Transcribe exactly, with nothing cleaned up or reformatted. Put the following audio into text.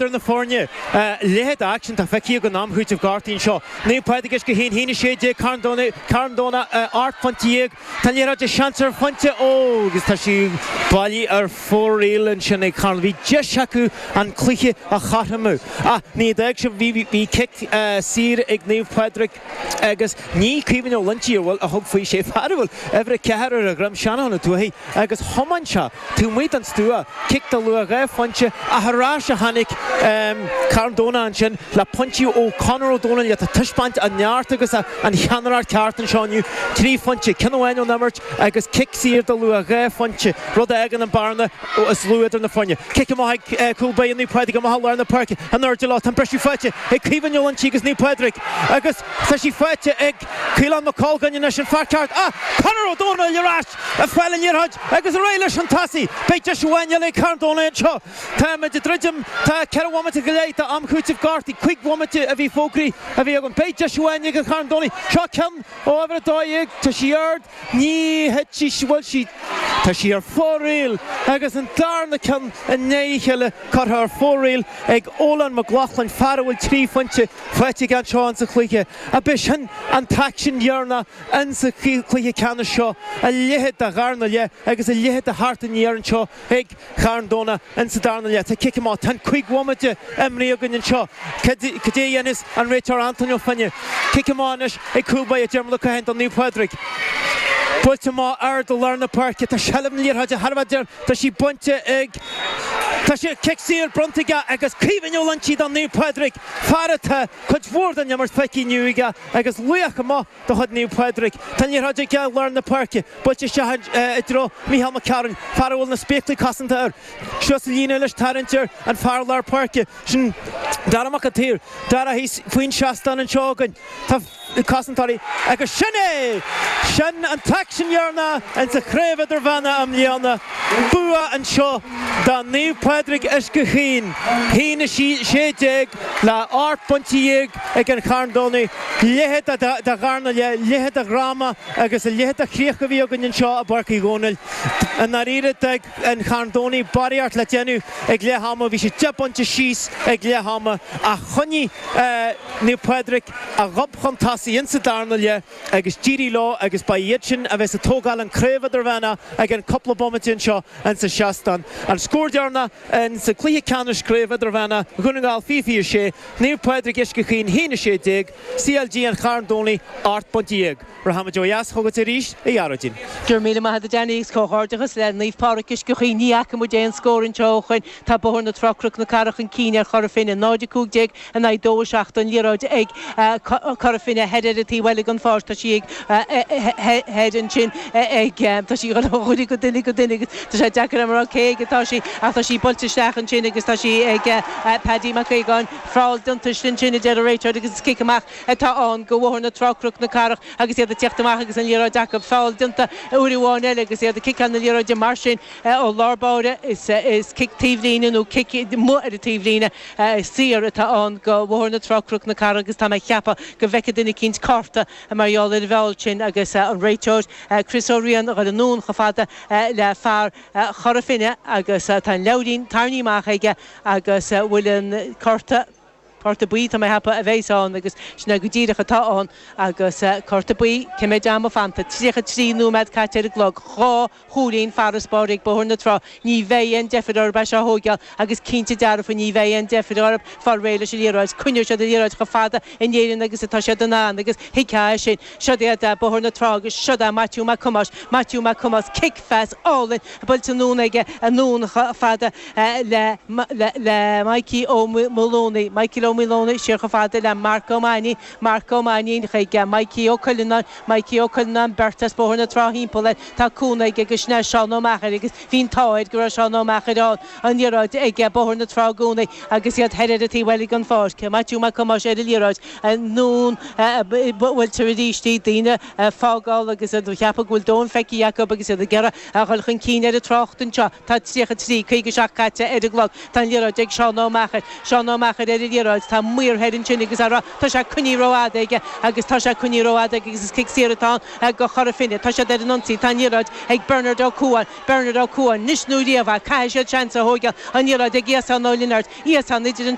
Idir na foirne, a leithéid d'aicsean atá feicthe againn am chúitimh gortaithe anseo. Naomh Pádraig Uisce Chaoin, a haon a sé déag, Carn Domhnach, Carn Domhnach ocht bpointe dhéag. Tá an liathróid seans ar phointe, ó agus tá sí bailithe ar fóraoil ansin ag Carn. Bhí deis acu an cluiche a chothromú ach ní d'fhág sé, bhí bhí cic saor ag Naomh Pádraig agus ní Caoimhín Ó Loinsigh a bhfuil a thug faoi sé fear a bhfuil uimhir a ceathair ar a dhroim, Seanán Ó Tuathaigh agus thiomáin sé taobh amuigh den stua, cic de luach dhá phointe ach ar ais a tháinig Carn Domhnach ansin le pointí ó Conor Ó Domhnaill atá ag taispeáint an neart agus an cheannaireacht ceart anseo inniu, trí phointe, ceann amháin ón imirt agus cic saor de luach dhá phointe, rud a fhágann an bearna is lú idir na foirne. Cic amach ag cúl báire Naomh Pádraig amach i lár na páirce, in airde leo, tá an briseadh faighte ag Caoimhín Ó Loinsigh agus Naomh Pádraig agus tá sí faighte ag Caolán Mac Colgáin anois, an fear ceart ach Conor Ó Domhnaill ar ais ag fáil an liathróid agus ar aghaidh leis chun tosaigh. Beidh deis amháin eile ag Carn Domhnach anseo. Táimid ag druidim, tá ceithre bhomaite go leith d'am chúitimh gortaithe, cúig bhomaite a bhí fógraithe a bhí againn. Beidh deis amháin ag an Charn Domhnach. Seo ceann ó uimhir a dó dhéag, tá sí ard, ní thit sí, bhuel sí, tá sí ar fóraoil agus an darna ceann i ndiaidh a chéile curtha ar fóraoil ag Olan McLaughlin, fear a bhfuil trí phointe faighte aige anseo insa chluiche. Ab é sin an t-aicsean dheireanach insa chluiche ceannais seo, a leithéid de dharna leath agus a leithéid de theacht aniar anseo ag Charn Domhnach insa darna leath. Tá cic amach, tá an cúig bhomaite imrithe againn anseo. Cad é a dhéanfas an réiteoir Antóin Ó Finneadh? Cic amach anois ag cúl báire Diarmuid Ó Catháin do Naomh Pádraig. Buailte amach ard i lár na páirce. Tá seilbh na liathróide thar a bheith deireanach. Tá sí bainte ag. Tá sé cic saor bronnta aige agus Caoimhín Ó Loinsigh do Naomh Pádraig, fear atá cuid mhór den imirt feicthe inniu aige agus laoch amuigh de chuid Naomh Pádraig. Tá an liathróid aige i lár na páirce, buailte isteach i dtreo Mícheál Mac Cearúil, fear a bhfuil na spéaclaí cosanta air. Suas an líne leis, tarraingt ar an fear lár páirce, sin Dara Mac an tSaoir. Dara thíos faoin seastán anseo againn. Tá cosantóirí agus sin é! Sin an t-aicsean dheireanach insa Chraobh Idirmheánach i mbliana. Bua anseo do Naomh Pádraig Uisce Chaoin, haon a sé déag le ocht bpointe dhéag ag an Charn Domhnaigh. Leithéid de dharna leath, leithéid de dhráma agus a leithéid de chríoch a bhí againn anseo i bPáirc Uí Dhónaill. I ndáiríre d'fhág an Charn Domhnaigh barraíocht le déanamh ag leath ama, bhí siad deich bpointe síos ag leath ama ach choinnigh Naomh Pádraig a ghob chun tosaigh insa darna leath agus d'éirigh leo agus ba iad sin a bheas ag tógáil an Craobh Idirmheánach i gceann cúpla bomaite anseo insa seastán. An scór deireanach insa cluiche ceannais Craobh Idirmheánach Dhún na nGall fiche fiche a sé, Naomh Pádraig Uisce Chaoin haon a sé déag, CLG an Charn Domhnaigh ocht bpointe dhéag. Rachaimid ó dheas chugat arís, a Ghearóidín. Go raibh míle maith agat a Danny agus comhghairdeachas le Naomh Pádraig Uisce Chaoin. Ní fhaca muid aon scór anseo ó shoin. Tá Bóthar na Trá Cnoc na Cathrach chun cinn ar Chora Finne, náid a cúig déag in aghaidh dó a seacht an liathróid ag Cora Finne thoir ar an taobh eile den pháirc. Tá sí ag thoir ansin ag tá sí ag dul ó dhuine go duine go duine agus tá sé deacair a rá cé aige atá sí ach tá sí buailte isteach ansin agus tá sí ag Paddy Mac Aogáin. Feall déanta ansin a deir an réiteoir agus is cic amach atá ann go Bhóthar na Trá Cnoc na Cathrach agus iad ag tíocht amach agus an liathróid acu. Feall déanta uair amháin eile agus iad ag ciceáil na liathróide mar sin ó lár báire. Is cic taobhlíne nó cic amuigh ar an taobhlíne saor atá ann go Bhóthar na Trá Cnoc na Cathrach agus tá mé ag ceapadh go bhfeicfidh duine eicínt cárta mar gheall ar an bhfeall sin agus an réiteoir Chris Ó Riain a dhul anonn chomh fada le fear Chora Finne agus tá an leabhairín tarraingthe amach aige agus bhfuil an cárta Cárta buí, tá mé ag ceapadh, a bheas ann agus sin é go díreach atá ann agus cárta buí, cé mhéad ama fanta? tríocha trí nóiméad caite ar an gclog, dhá chúilín farasbarr ag Bóthar na Trá. Ní bheidh aon deifir orthu é seo a thóigeáil agus cinnte dearfa ní bheidh aon deifir orthu fáil réidh leis an liathróid. Coinneoidh siad an liathróid chomh fada in Éirinn agus atá siad in ann agus thuigfeá é sin. Siod iad Bóthar na Trá agus siod é Maitiú Mac Thomáis, Maitiú Mac Thomáis, cic phas álainn buailte anonn aige anonn chomh fada le le Mikey Ó Maolúnaigh, Michael Ó Maolúnaigh, siar chomh fada le Marc Ó Mainnín, Marc Ó Mainnín chuig Mikey Ó Cuileanáin, Mikey Ó Cuileanáin, beirt as Bóthar na Trá thimpeall air, tá cúnamh aige agus sin é Seán Ó Meachair agus bhí an t-ádh air go raibh Seán Ó Meachair ann, an liathróid ag Bóthar na Trá i gcónaí agus iad thoir ar an taobh eile den pháirc. Maitiú Mac Thomáis ar an liathróid, anonn buailtear arís í, daoine ag fágáil agus iad ag ceapadh go bhfuil domhan feicthe acu agus iad ag iarraidh a dhul chun cinn ar an trácht anseo. Tá tríocha trí, caoga seacht caite ar an gclog. Tá an liathróid ag Seán Ó Meachair. Seán Ó Meachair ar an liathróid. thógáil tá maor thoir ansin agus ará tá sé coinnithe rófhada aige agus tá sé coinnithe rófhada aige agus is cic saor atá go Chora Finne tá siad ar an ionsaí tá an liathróid ag Bernard Ó Cuain Bernard Ó Cuain níos nó riamh caithfidh siad seans a thógáil an liathróid ag Íosán Ó Lionáird Íosán idir an